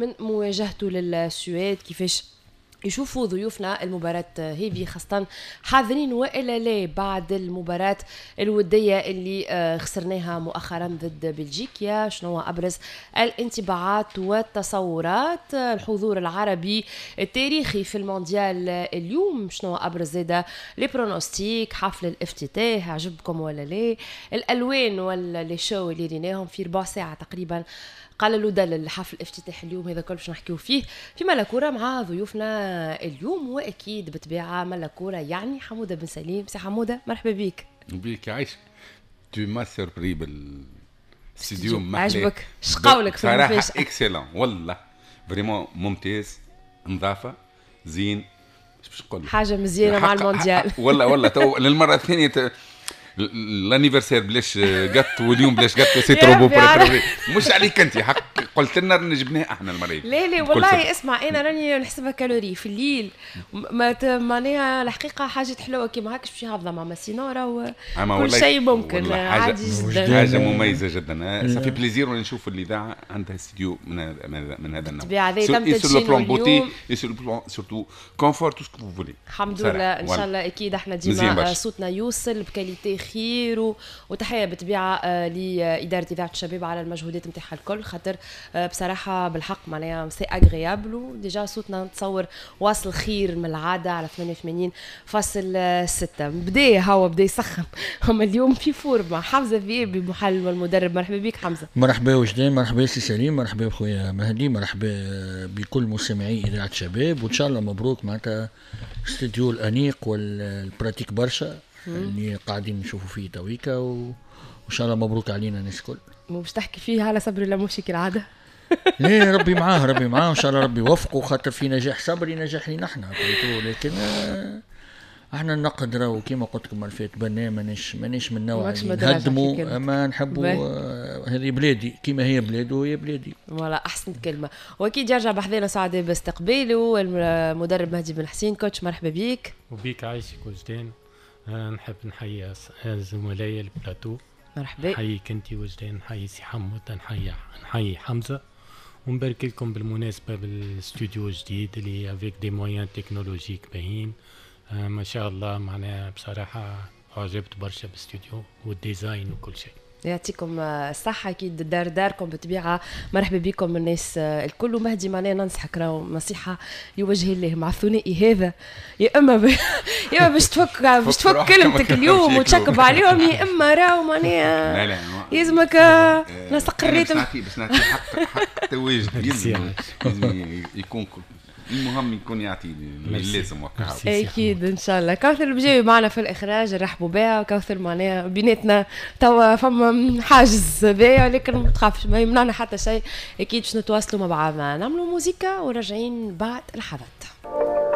من مواجهته للسويد، كيفاش يشوفوا ضيوفنا المباراة هذه، خاصة حاضرين والا لا بعد المباراة الودية اللي خسرناها مؤخرا ضد بلجيكا. شنو أبرز الانطباعات والتصورات؟ الحضور العربي التاريخي في المونديال اليوم، شنو أبرز زادة les pronostics؟ حفل الافتتاح عجبكم ولا لا؟ الألوان ولا les shows اللي ريناهم في ربع ساعة تقريبا قال له دلل حفل افتتاح اليوم، هذا كل باش نحكيو فيه في ملكورة مع ضيوفنا اليوم. واكيد بطبيعة ملكورة يعني حموده بن سليم. سي حموده، مرحبا بك. بيك عايش، tu m'as surpris بالاستديو. عجبك؟ شقاولك؟ في صراحة excellent، والله vraiment ممتاز، نظافه، زين، باش نقول حاجة مزيانه مع المونديال. والله والله تو للمرة الثانية l'anniversaire بلاش جاتو، واليوم بلاش gâteau، c'est trop beau. مش عليك انت، حق قلت لنا جبناه احنا المريض. لا لا والله اسمع، انا راني نحسبها calories في الليل، ما معناها الحقيقة حاجة حلوة كيما هكا باش يهضم، اما sinon راهو كل شيء ممكن، عادي جدا. حاجة مميزة جدا، ça fait plaisir نشوف الاذاعة عندها استديو من هذا النوع. بالطبيعة هذا تم تدشينه اليوم، surtout confort، tout ce que vous voulez. الحمد لله، ان شاء الله اكيد احنا ديما صوتنا يوصل ب qualité خير، وتحية بالطبيعة لادارة اذاعة الشباب على المجهودات نتاعها الكل، خاطر بصراحة بالحق معناها c'est agréable، و déjà صوتنا نتصور واصل خير من العادة على 88.6. بدا هو بدا يسخن، هم اليوم في forme. حمزة ذيابي المحلل والمدرب، مرحبا بك حمزه. مرحبا وجدان، مرحبا سي سليم، مرحبا بخويا مهدي، مرحبا بكل مستمعي اذاعة شباب، وان شاء الله مبروك معناتها استوديو الانيق وال pratique برشا اللي قاعدين نشوفوا فيه تويكا، وان شاء الله مبروك علينا الناس الكل. مو باش تحكي فيه على صبري لموشي كالعاده؟ ليه، ربي معاه، ربي معاه، ان شاء الله ربي يوفقه، خاطر في نجاح صبري نجاح لينا احنا، لكن احنا النقد راهو كيما قلت لكم الفات بناء، مانيش من النوع اللي نهدموا، اما نحبوا هذه بلادي كيما هي بلاده وهي بلادي. voilà، احسن كلمه. واكيد يرجع بحذانا سعداء باستقباله المدرب مهدي بن حسين. coach، مرحبا بك. وبيك عايشك وجدان. نحب نحيي زملائي البلاتو. مرحبا. نحييك انت وجدان، نحيي سي حمود، نحيي حمزه، ونبارك لكم بالمناسبة بالاستوديو الجديد اللي avec des moyens technologiques باهين، ما شاء الله. معناها بصراحة عجبت برشا بالاستوديو وال design وكل شيء. يعطيكم الصحة، أكيد دار داركم بالطبيعة، مرحبا بكم الناس الكل. ومهدي معناها ننصحك راهو نصيحة لوجه الله، مع الثنائي هذا يا اما باش تفك كلمتك اليوم وتشكب عليهم، يا اما راهو معناها لا لا يلزمك نسق ال rythme. باش نعطي حق التواجد، لازم يكون، المهم يكون يعطي اللازم. وقتها اكيد ان شاء الله. كوثر البجاوي معنا في الاخراج، نرحبوا بها. كوثر معناها بيناتنا توا فما حاجز بها، ولكن ما تخافش، ما يمنعنا حتى شيء، اكيد باش نتواصلوا مع بعضنا. نعملوا موزيكا وراجعين بعد لحظات.